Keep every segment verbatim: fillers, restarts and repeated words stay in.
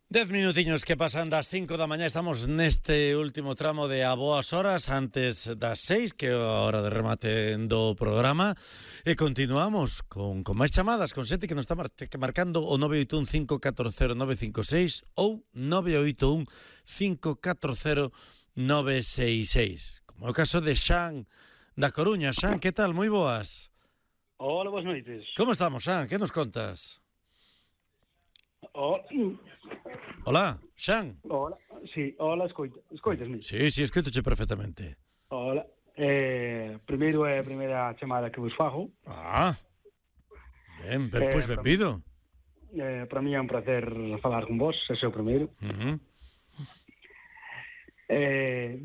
Dez minutiños que pasan das cinco da mañá. Estamos neste último tramo de a boas horas antes das seis, que é a hora de remate do programa. E continuamos con, con máis chamadas, con xente que nos está mar marcando o nove oito un cinco catro cero nove cinco seis ou nove oito un cinco catro cero nove seis seis. Como é o caso de Xan da Coruña. Xan, que tal? Moi boas. Hola, boas noites. Como estamos, Xan? Que nos contas? Hola. Hola, Xan. Hola, sí, hola, escoita, escoitasme. Sí, sí, escoitoche perfectamente. Hola. Eh, primeiro é a primeira chamada que vos fago. Ah, ben, ben, pois, Eh, benvido. Eh, para mí é un placer falar con vos, ese é o primeiro. Uh-huh. Eh,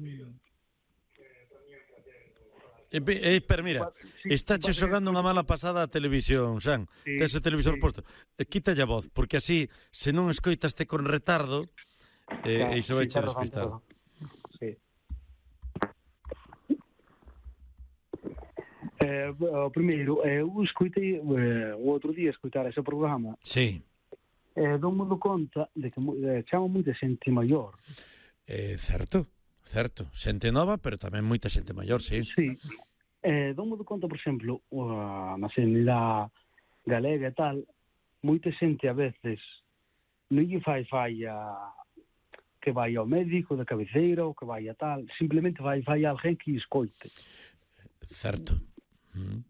E, e, pero mira, sí, estáche xogando unha mala pasada a televisión, Xan. Sí, Tes o televisor sí. posto. E, quítalle a voz, porque así, se non escoitaste con retardo, eh, Claro, e iso vai sí, che ten razón, despistar. ten razón. Sí. Eh, o primeiro, eh, eu escoitei eh, o outro día escoitar ese programa. Sí. Eh, dou-me do conta de que eh, chama moita xente maior. Eh, certo, certo. Xente nova, pero tamén moita xente maior, sí. Sí. Eh, dou-me do conta, por exemplo, uh, na sanidade galega e tal, moita xente a veces non lle fai falla que vai ao médico de cabeceira ou que vai a tal, simplemente vai fai alguén que escoite. Certo. Mm.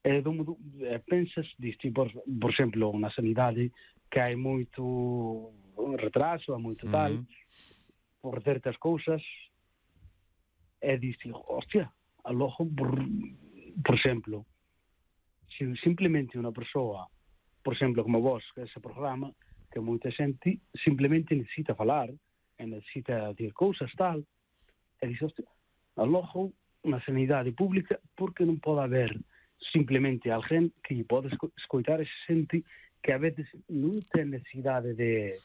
E dou-me do, eh, pensas, diste, por, por exemplo, na sanidade que hai moito retraso, hai moito Mm. tal, por certas cousas, e diste, hostia, a logo, por, por exemplo, se simplemente unha persoa, por exemplo, como vos, que ese programa, que moita xente simplemente necesita falar, e necesita decir cousas tal, e dixe, hostia, a logo, na sanidade pública, porque non pode haber simplemente alguén que lle pode escoitar ese xente que a veces non ten necesidade de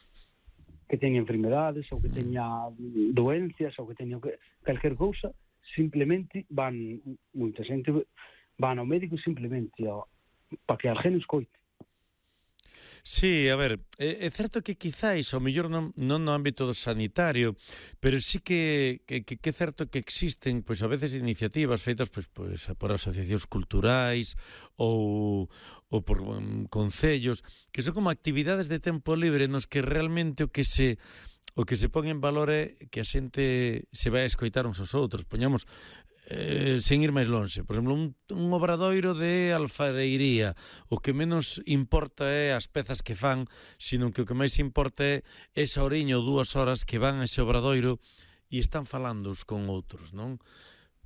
que teña enfermedades ou que teña doencias ou que teña calquer cousa, simplemente van moita xente van ao médico simplemente ó, para que alguén escoite. Sí, a ver, é, é certo que quizáis ao mellor non, non no ámbito sanitario, pero sí que, que, que, que é certo que existen pois a veces iniciativas feitas pois, pois por asociacións culturais ou, ou por um, concellos, que son como actividades de tempo libre nos que realmente o que se o que se pon en valor é que a xente se vai a escoitar uns aos outros. Poñamos, eh, sen ir máis lonxe, por exemplo, un, un obradoiro de alfareiría. O que menos importa é as pezas que fan, sino que o que máis importa é esa horiña ou dúas horas que van a ese obradoiro e están falando uns con outros, non?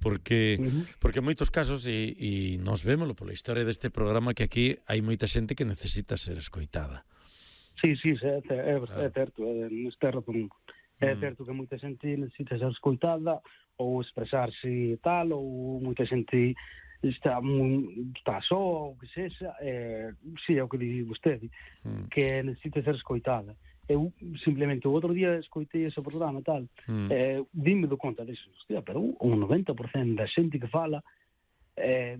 Porque, uh-huh. porque en moitos casos, e, e nos vémolo pola historia deste programa, que aquí hai moita xente que necesita ser escoitada. Sí, sí, é, é, é certo, é, neste razón. É Mm. certo que moita xente necesita ser escoitada ou expresarse tal, ou moita xente está, está só, ou que sexa, é, sí, é o que di vostede, Mm. que necesita ser escoitada. Eu, simplemente, o outro día escoitei ese programa tal, Mm. eh, dime do conta disso, hostia, pero un noventa por cento da xente que fala, eh,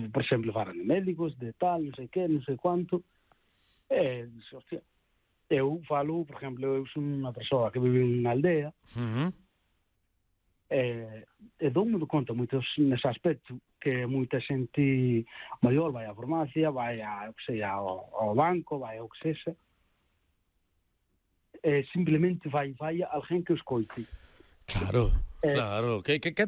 por exemplo, falan de médicos, de tal, non sei que, non sei quanto, eh, hostia, eu falo, por exemplo, eu sou unha persoa que vive en unha aldea, Mm-hmm. e, e dou-me do conta moitos nese aspecto que moita xente maior vai á farmacia, vai a, que sei, ao, ao banco, vai ao que sexa, e simplemente vai vai alguén que o escoite. Claro, Eh, claro. Que, que, que